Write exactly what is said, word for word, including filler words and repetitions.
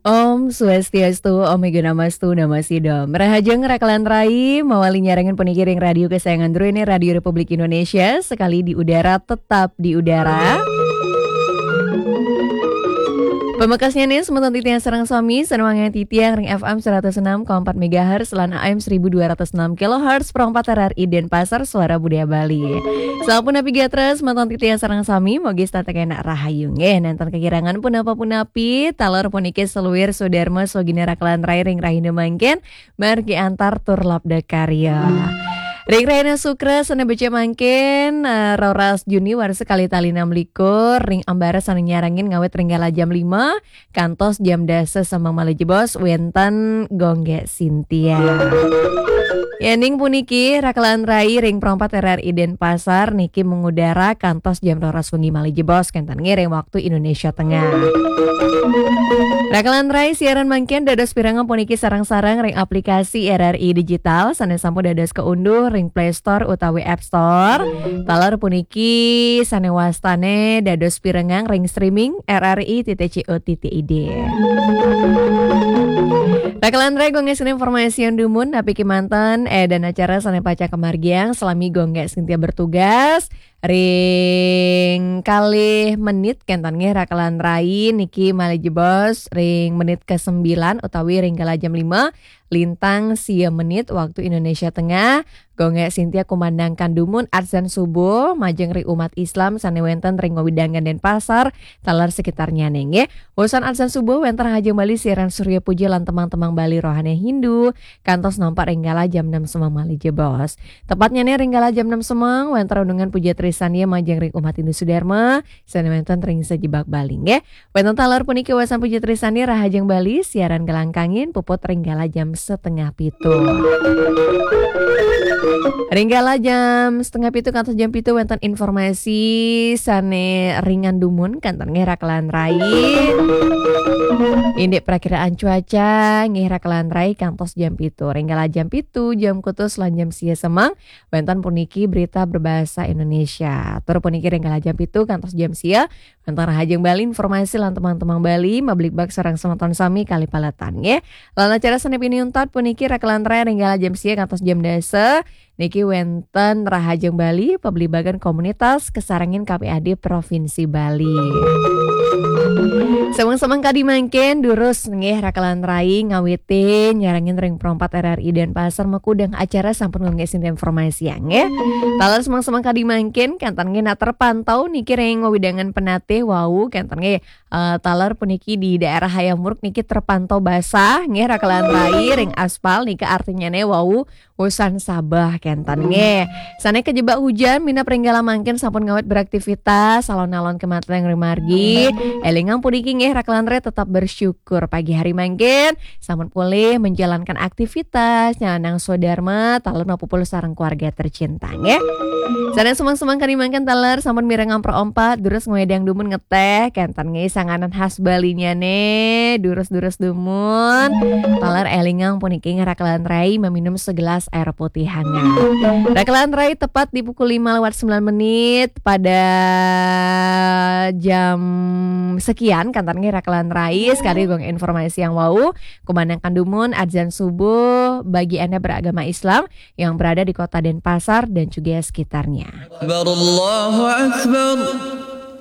Om Swastiastu, Om Igunamastu, Namo Sidom. Rahajeng Rakelan Rai, mawali nyarengin puniki ring radio kesayangan Dru ini, Radio Republik Indonesia, sekali di udara, tetap di udara. Pamekasnya nih, semeton titiang sareng sami, sané wangiang titiang ring F M seratus enam koma empat megahertz lan A M seribu dua ratus enam kilohertz, pro empat R R I Denpasar, Suara Budaya Bali. Sampun napi gatra, semeton titiang sareng sami, mogi setata kenak rahayu nggih, nénten kekirangan punapa-punapi, taler puniki seluir swadharma swagina Rakelan Rai ring rahina mangkin, margi antar tur labda karya. Ring rahina Sukra sané becik mangkin, eh, roras Juni warsa kalih tali enam likur, ring ambara sané nyarengin ngawit ring kala jam lima kantos jam dasa semeng malih jebos wénten Gonggé Sintia. Yéning puniki Rakelan Rai ring pro empat R R I Denpasar niki mengudara kantos jam roras wengi malih jebos kénten ngiring waktu Indonesia Tengah. Rakelan Rai siaran mangkin dados pirengang puniki sareng-sareng ring aplikasi R R I Digital sané sampun dados kaunduh ring Play Store utawi App Store. Taler puniki sané wastané dados pirengang ring streaming R R I titik C O titik I D. Rakelan Rai, Gonggé Sintia informasian dumun, napi kémanten, eh, dan acara sané pacang kamargiang salami Gonggé Sintia bertugas. Ring kalih menit kénten nggih Rakelan Rai niki malih jebos ring menit kesembilan utawi ring kala jam lima lintang sia menit waktu Indonesia Tengah. Gonggé Sintia kumandangkan dumun adzan subuh majeng ring umat Islam sané wénten ring wewidangan Denpasar taler sekitarnyané nggih. Wusan adzan subuh wénten Rahajeng Bali siaran Surya Puja lan tembang-tembang Bali rohani Hindu kantos nampak ring kala jam enam semeng malih jebos. Tepatnyané ring kala jam enam semeng, wénten renungan puja trisandia majeng ring umat Hindu Sudarma, sané wénten ring sajebag Bali, nggih. Wénten taler puniki wusan puja trisandia Rahajeng Bali, siaran gelangkangin puput ring kala jam setengah pitu. Ring kala jam setengah pitu kantos jam pitu wénten informasi sané ringan dumun, kénten nggih Rakelan Rai. Indik prakiraan cuaca, nggih Rakelan Rai kantos jam pitu. Ring kala jam pitu, jam kutus lan jam sia semeng, wénten puniki berita berbahasa Indonesia. Tur puniki ring kala jam pitu kantos jam sia, wénten Rahajeng Bali informasi lan tembang-tembang Bali, mabligbagan sareng semeton sami kalih paletan, nggih. Lan acara sané pinih untat puniki Rakelan Rai ring kala jam sia kantos jam dasa, niki wénten Rahajeng Bali, pabligbagan komunitas kasarengin K P A D Provinsi Bali. Semeng-semeng kadi mangkin, durus nggih Rakelan Rai ngawitin nyarengin ring pro empat R R I Denpasar makudang acara sampun Gonggé Sintia informasiang nggih. Taler semeng-semeng kadi mangkin, kénten nggih nak terpantau niki ring wewidangan Penatih wau, kénten nggih, eh, taler puniki di daerah Hayam Wuruk niki terpantau basah nggih Rakelan Rai ring aspal niki artinyané wau wusan sabeh kénten nggih. Sané kajebak hujan minab ring kala mangkin sampun ngawit beraktivitas, alon-alon kémanten ring margi. Élingang puniki nggih Rakelan Rai tetap bersyukur pagi hari mangkin sampun polih menjalankan aktivitas, nyanang swadarma, taler mapupul sareng keluarga tercinta nggih. Sané semeng-semeng kadi mangkin taler sampun mirengang pro empat, durus ngwedang dumun ngeteh, kénten nggih sanganan khas Balinyané, durus-durus dumun. Taler élingang puniki nggih Rakelan Rai meminum segelas air putih hangat. Rakelan Rai tepat di pukul lima lewat sembilan menit pada jam sekian, kénten nggih Rakelan Rai, sekali Gonggé informasiang wau, kumandangkan dumun adzan subuh bagi Anda beragama Islam yang berada di Kota Denpasar dan juga sekitarnya. Akbar, Allahu Akbar.